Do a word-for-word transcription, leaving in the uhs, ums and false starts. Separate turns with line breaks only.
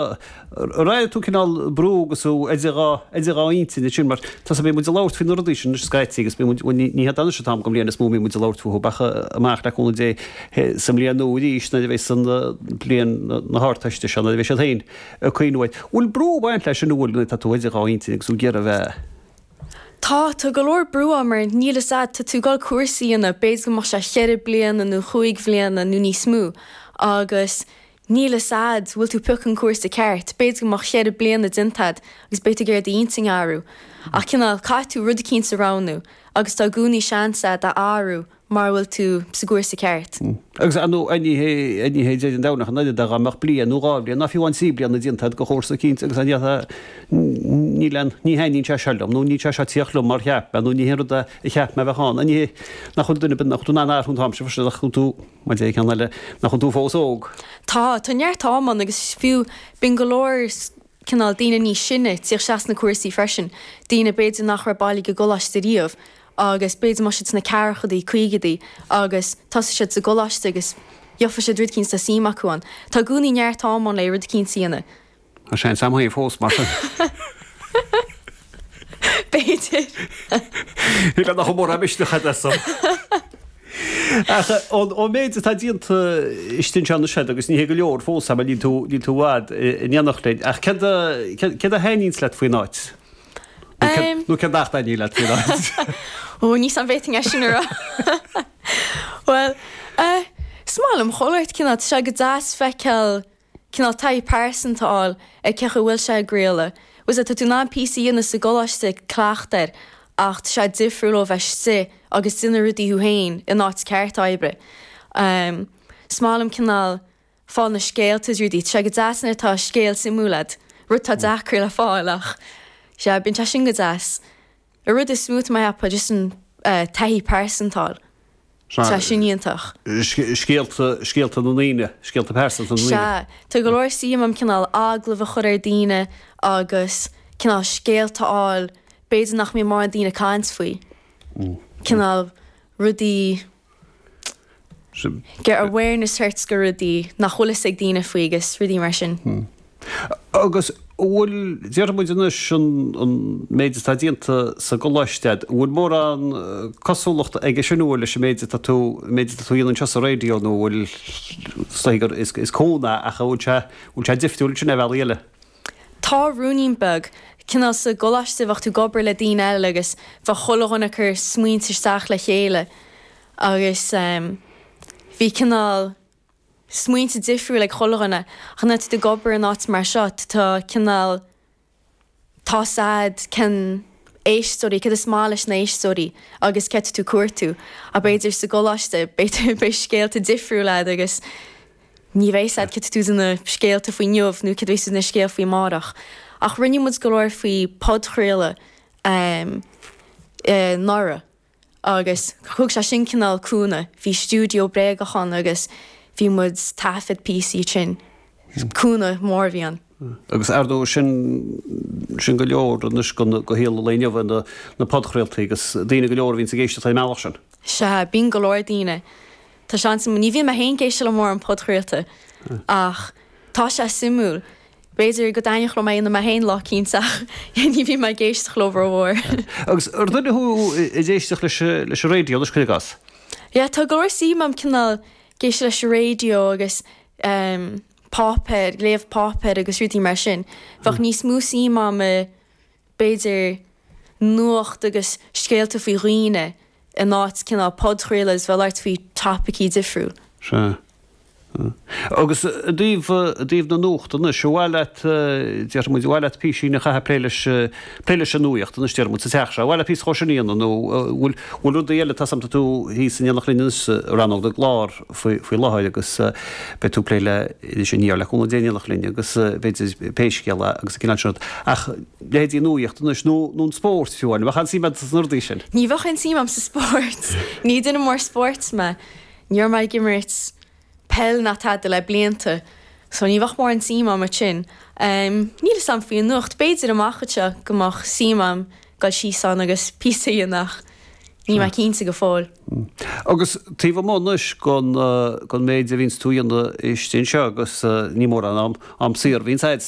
Ar airigh tú cineál brú agus tú idir dhá idir dhá intinn ansin mar tá beidh muid ag labhairt faoi na rudaí sin anois scaití agus beidh muid bhuel ní ní hé anois an t-am den bhliain is mó a mbíonn muid ag labhairt fúthu ach amach le cúnamh Dé sa mbliain nua arís nuair a bheas an bliain na hArdteiste seo nuair a bheidh siad féin ag cuimhniú air. Bhfuil brú ag baint leis sin nó bhfuil nuair atá tú idir dhá intinn agus tú ag iarraidh a bheith
Tá, tá go leor brú ann mar níl fhios a'd, tá tú ag dul cúrsa a dhéanamh, b'fhéidir go mbeadh sé cheithre bliana nó chúig bhliana nó níos mó agus níl fhios a'd bhfuil tú piocadh an cúrsa ceart, b'fhéidir go mbeadh cheithre bliana déanta a'd agus beidh tú ag iarraidh d'intinn a athrú. Ach cineál caithfidh tú rud eicínt a roghnú agus tá i gcónaí seans a'd a athrú mara bhfuil tú sa gcúrsa ceart.
Agus ar ndóigh ní hé ní hé deireadh an domhain ach an oiread dá mbeadh bliain nó dhá bhliain ná fiú amháin trí bliana déanta a'd de chúrsa eicínt agus an ndéarfá níl aon ní thaitníonn sé seo liom nó níl sé seo ag tíocht liom mar cheap mé nó ní hé an rud a cheap mé a bheadh ann. Ní hé nach bhfuil duine nach bhfuil tú in ann athrú an t-am sin freisin nach bhfuil tú Mar deir ceann eile, nach bhfuil tú fós óg.
Tá, tá neart am ann agus fiú bíonn go leor cineál daoine níos sine ag tíocht isteach sna cúrsaí freisin, daoine b'fhéidir nach raibh bailithe go gcoláiste riamh agus b'fhéidir mbeadh siad sna ceathrachaidí, caogaidí agus tosóidh siad sa gcoláiste agus gheobhaidh siad rud eicínt atá suim acu ann. Tá i gcónaí neart am ann le rud eicínt a dhéanamh.
Tá seans agam féin fós, mar sin.
B'fhéidir.
Shíl nach mórán misneach agat as san. Ach ón méid atá déanta istigh anseo anois agat, agus ní hé go leor fós, mar níl tú níl tú i bhfad in éineacht linn, ach céard a céard a thaitníonns leat faoin áit? Nó céard nach dtaitníonn leat faoin áit?
Ó, níl 's a'm an bhféadfainn é sin a rá. Bhuel, eh, is maith liom chuile shórt cineál, tá sé go deas feiceáil cineál taithí pearsanta a fháil ar cén chaoi a bhfuil sé ag craoladh. Bhfuil 's a'd, tá tú in ann píosa a dhéanamh sa gcoláiste ag cleachtadh air ach tá sé difriúil ó bheith istigh agus déanamh rudaí thú féin in áit ceart oibre. Is maith liom cineál fáil na scéalta is rudaí. Tá sé go deas nuair atá scéal suimiúil a'd, rud atá deacair le fáil ach sea, bíonn sé sin go deas. An rud is mó tá mé a cheapadh just an taithí pearsanta a fháil. Tá sin iontach.
Scéalta, scéalta na ndaoine, scéalta pearsanta na ndaoine.
Sea. Tá go leor suim a'm cineál agallamh a chur ar daoine agus cineál scéalta a fháil, b'fhéidir nach mbíonn mórán daoine ag caint faoi. Cineál rudaí, get awareness thart go rudaí nach bhfuil fhios ag daoine faoi agus rudaí mar sin.
Agus an bhfuil, déarfaidh muid anois, an méid atá déanta sa gcoláiste a'd, an bhfuil mórán cosúlachta aige sin bhfuil leis an méid atá tú, an méid atá tú a dhéanamh anseo sa raidió nó an bhfuil, is dóigh gur, is, is cónaí é ach an bhfuil sé, an bhfuil sé difriúil ansin ar bhealaí eile?
Tá ruainnín beag. Cineál sa gcoláiste bheadh tú ag obair le daoine eile agus bheadh chuile dhuine ag cur smaointe isteach le chéile agus bhí cineál, smaointe difriúil ag chuile dhuine ach nuair atá tú ag obair in áit mar seo tá cineál tá 's a'd cén éisteoirí céard is maith leis na éisteoirí agus céard tá tú ag cuartú ach b'fhéidir sa gcoláiste b'fhéidir beidh scéalta difriúil a'd agus ní bheidh 's a'd céard tá tú ag déanamh scéalta faoi inniu nó céard a bheidh tú ag déanamh scéal faoi amárach ach rinne muid go leor faoi podchraoladh ehm anuraidh. Agus thug sé sin cineál cúnamh. Bhí stiúideo bréagach ann agus bhí muid taifead píosaí ansin. Cúnamh mór a bhí ann.
Agus ar ndóigh sin, sin go leor anois go go shaol an lae inniu, na na podchraoltaí agus daoine go leor a bhíonns ag éisteacht ar an mbealach sin.
Sea, bíonn go leor daoine. Tá seans, ní bhíonn mé féin ag éisteacht le mórán podchraolta ach tá sé suimiúil. B'fhéidir go dtaitneodh liom é a dhéanamh mé féin lá eicínt ach ní bhíonn mé ag éisteacht leo rómhór.
Agus ar duine thú ag éisteacht leis leis an raidió anois cuir i gcás?
Yeah, tá go leor suim a'm cineál ag éisteacht leis an raidió agus ehm páipéar, léamh páipéir agus rudaí mar sin. Bheadh níos mó suim a'm i b'fhéidir nuacht agus scéalta faoi dhaoine in áit cineál podchraoladh is bheith ag labhairt faoi topaicí difriúil.
Sea. Agus i dtaobh, i dtaobh na nuachta anois, ar mhaith leat, déarfaidh muid, ar mhaith leat písín a chaitheamh ag plé leis, plé leis an nuaíocht anois, déarfaidh muid, sa teach seo, ar mhaith leat píosa dhó sin a dhéanamh nó bhfuil, bhfuil rudaí eile, tá 's a'm tá tú thíos in éineacht linn anois i rannóg na gclár faoi, faoi láthair agus beidh tú ag plé le Iris Aniar le cúnamh Dé in éineacht linn agus b'fhéidir pé scéal é agus an cineál sin rud. Ach leithéidí nuaíocht anois nó, nó an spórt fiú amháin, an bheadh aon suim agat sna rudaí sin?
Ní bheadh aon suim a'm sa spórt. Ní duine mór spóirt mé. Ní raibh mé ag imirt peil ná tada le blianta so ní bheadh mórán suim a'm ansin. Níl 'fhios a'm faoi an nuacht, b'fhéidir amach anseo go mbeadh suim a'm dul síos ann agus píosa a dhéanamh ach Níl mé cinnte go fóill.
Agus taobh amuigh anois den den méid a bhíonns tú a dhéanamh istigh anseo agus ní mórán am am saor a bhíonns a'd.